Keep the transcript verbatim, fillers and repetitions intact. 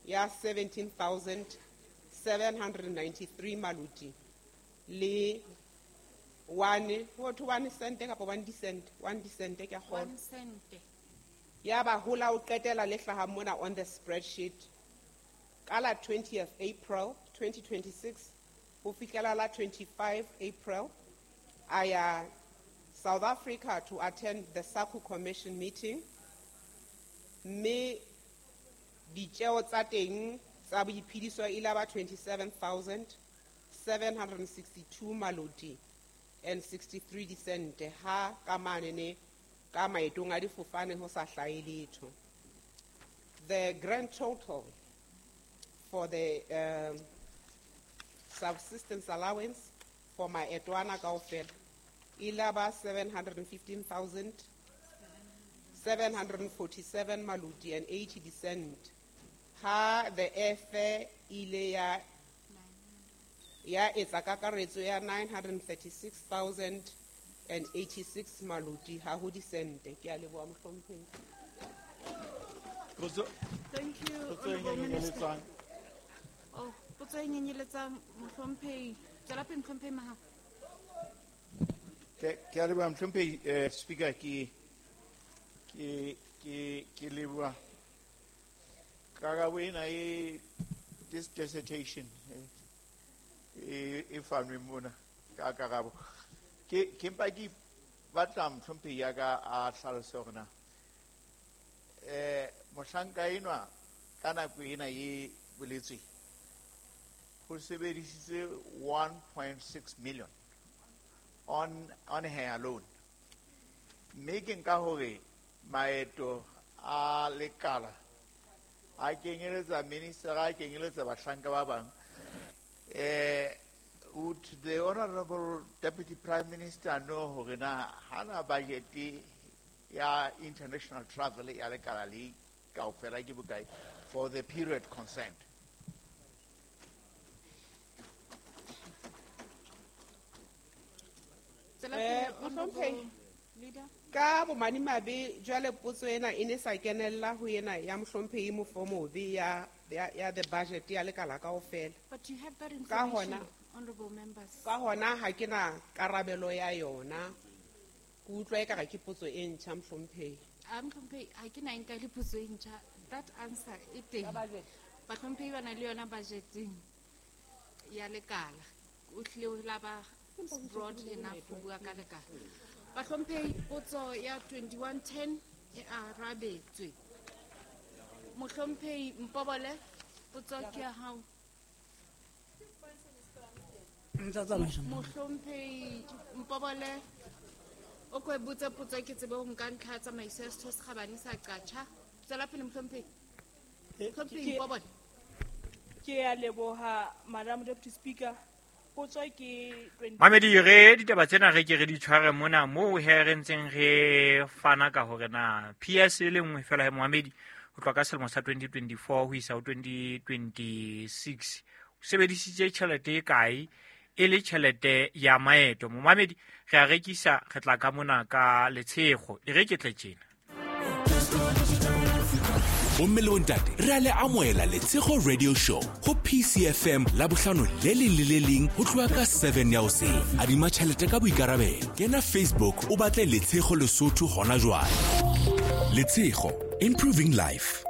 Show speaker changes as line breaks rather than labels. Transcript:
ya seventeen thousand seven hundred ninety-three maluti le one, ho thwe one cent kapa one cent, one cent ke a kgolwa.
One cent.
Ya ba hola o qetela le hlahang mona on the spreadsheet ka la twentieth April twenty twenty-six ho fihlela la twenty-five April a ya South Africa to attend the SACU Commission meeting. Mme ditjeo tsa teng tsa boiphediso e la ba twenty-seven thousand seven hundred sixty-two maloti and sixty-three disente ha ka manene ka maetong a difofane ho sa hlahe letho. The grand total for the, um, subsistence allowance for maeto ana kaofela e la ba seven hundred fifteen thousand seven hundred forty-seven maloti and eighty cent. Ha the airfare ile ya, ya etsa kakaretso ya nine hundred thirty-six thousand and eighty-six maloti ha ho disente. Ke a leboha mohlomphehi.
Potso.
Thank you,
Potso e
Honorable Minister.
nyenyeletsang.
Oh, potso e nyenyeletsang mohlomphehi. Tswela pele mohlomphehi Mahao.
Ke, ke a leboha mohlomphehi, eh, Speaker, ke, ke, ke, ke leboha karabo ena e, this dissertation, eh, e, e fanweng mona ka karabo. Ke, ke mpa ke batla mohlomphehi ya ka a hlalose hore na, eh, mohlanka enwa ka nako ena e boletsweng ho sebedisitswe one point six million on, on her alone. Mme ke nka hore maeto a lekala a kenyeletsa minister, a kenyeletsa bahlanka ba bang. Eh, would the Honorable Deputy Prime Minister know hore na hana budget ya international travel ya lekala le kaofela ke bokae for the period concerned?
Tswela
Eh,
pele, Honorable
Mohlomphehi.
Leader.
Ka bomadimabe jwale potso ena e ne sa kenella ho ena ya mohlomphehi Mofomobe ya, ya, ya the budget ya lekala kaofela.
But you have that
Ka
information,
hona,
honorable members.
Ka hona ha ke na karabelo ya yona. Ke utlwa ekare ke potso e ntjha mohlomphehi.
Ah, mohlomphehi, ha ke na e nka le potso e ntjha. That answer e teng.
Ka budget.
Bahlomphehi ba na le yona budgeteng ya lekala. O hlile o la ba broad enough ho bua ka lekala. Bahlomphehi, potso ya twenty-one ten e arabetswe. Mohlomphehi Mpobole, potso ke ya hao. Mohlomphehi Mpobole, o ko e botse potso ke tsebe ho nka ntlha ya tsamaiso ya setho se kgabane sa Qacha. Tswela pele mohlomphehi.
Eh,
Mohlomphehi
ke-
Mpobole.
Ke a leboha, Madam Deputy Speaker. Potso ke twenty
Mamedi, re ditaba tsena re ke re di tshware mona moo he re ntseng re fana ka hore na P S e le nngwe fela he Mohamedi ho tloha ka selemo sa twenty twenty-four ho isa ho twenty twenty-six. O sebedisitse tjhelete e kae e le tjhelete ya maeto. Mohamedi, re a rekisa, re tla ka mona ka letshego. E re ke tle tjena.
Bomme le bontate, re a le amohela Letshego Radio Show ho P C F M Labohlano le leng le le leng ho tloha ka seven ya hoseng. Adima tjhelete ka boikarabelo. Kena Facebook o batle Letshego Lesotho hona jwale. Letshego, improving life.